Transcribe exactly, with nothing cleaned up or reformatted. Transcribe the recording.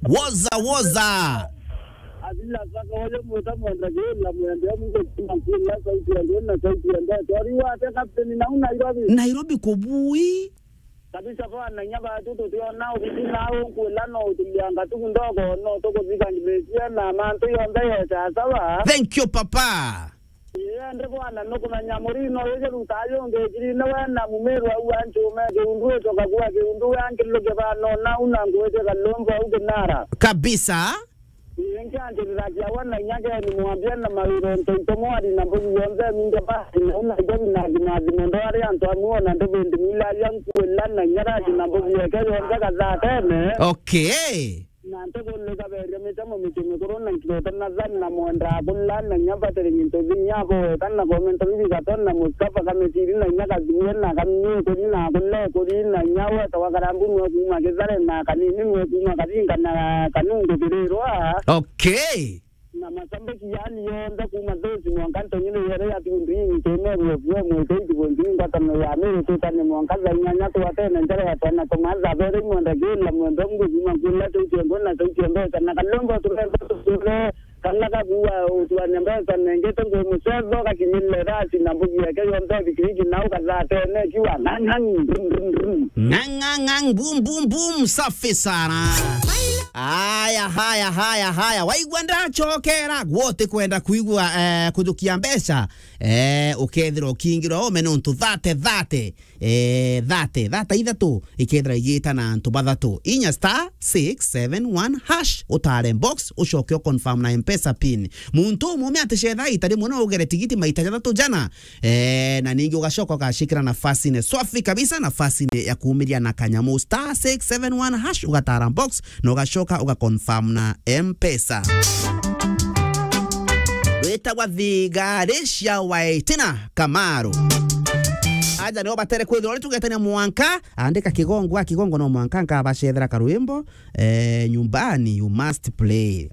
Woza, woza. Abila saka oyo mwita mwenda gila mwende amu gukuma kula sauti ya ndona sauti ya ndona. Tori wate kapteni na una Nairobi. Nairobi kubui. Kabisa bwana, inya batu tutiona ubitu na ukwila no utulianga tu ndogo no tukuthika ngimesia na mantu yonthe yeta sawa. Thank you, papa. Ii, ndi bwana, nukumenya murino uyu ruta yungi kirine we na mumiru au anchume kiundu icoka kuwa kiundu we ankiluke bano na una ngwite kalombo au kinara. Kabisa. Ii, nkianjirira kiawa na inya keni mwambia na mawiro ntoito mwari na mbugi yonthe mingi basi na una ijo binathi mathimo ndo ari antu amwe ona ndubindi mila ya nkuila na inya rathi na mbugi yeke yonthe kathatene. Okay. Na ntukuliga beria mitemo miti mikuru na nkirota na thani na mwenda akula na inya batiri gintu thinya abo weta na komento bibi gatona na Mustafa kamitiri na inya kathimie na kamie kuri na akule kuri na inya weta wa karambu nwe kuma kithare na kanini nwe kuma kathinga na kanungu kirirwa. Okay. Na masambiki yani yonthe kuma thesi mwanka ntonyine yere ya tiundu ingi temeru ofio mwete itigo nthi ngwatano ya miri tutane mwanka thaa inyanya twatene njara ya twana tumatha bere imwenda kila mwenda mbu kuma kula tutie ngona tutie mbeca na kalombo turemba tusure kana kakuwa utwane mbeca nengete ngwe mucetho gakinyile rasi na mbugi yake yonthe bikiriki na ukathatene kiwa ngangang brum brum brum. Ngangangang, boom, boom, boom, safi sana. Haya, haya, haya, haya. Waigua ndacokera, gwote kwenda kuigua, eh, kujukia mbeca, eh, ukethira ukingirwa ume nontu thate, thate, eh, thate, thate ithatu, ikethira igita na antu bathatu. Inya star six seven one hash, utare box, ucoke u confirm na M-Pesa pin. Muntu umume aticetha ita rimwe no ugere tigiti maita jathatu jana, Eh, na ningi ugacoka ugacikira nafasine swafi kabisa, nafasine ya kuumiria na kanyamu star six seven one hash, ugatara box, na ugacoka uga confirm na M-Pesa. Witagwa Thigari cia Waitina Kamaru. Aja nio batere kwithirwa uri tugetania mwanka, andika Kigongo, a Kigongo no mwanka nkabacethera karwimbo, eh, nyumbani you must play.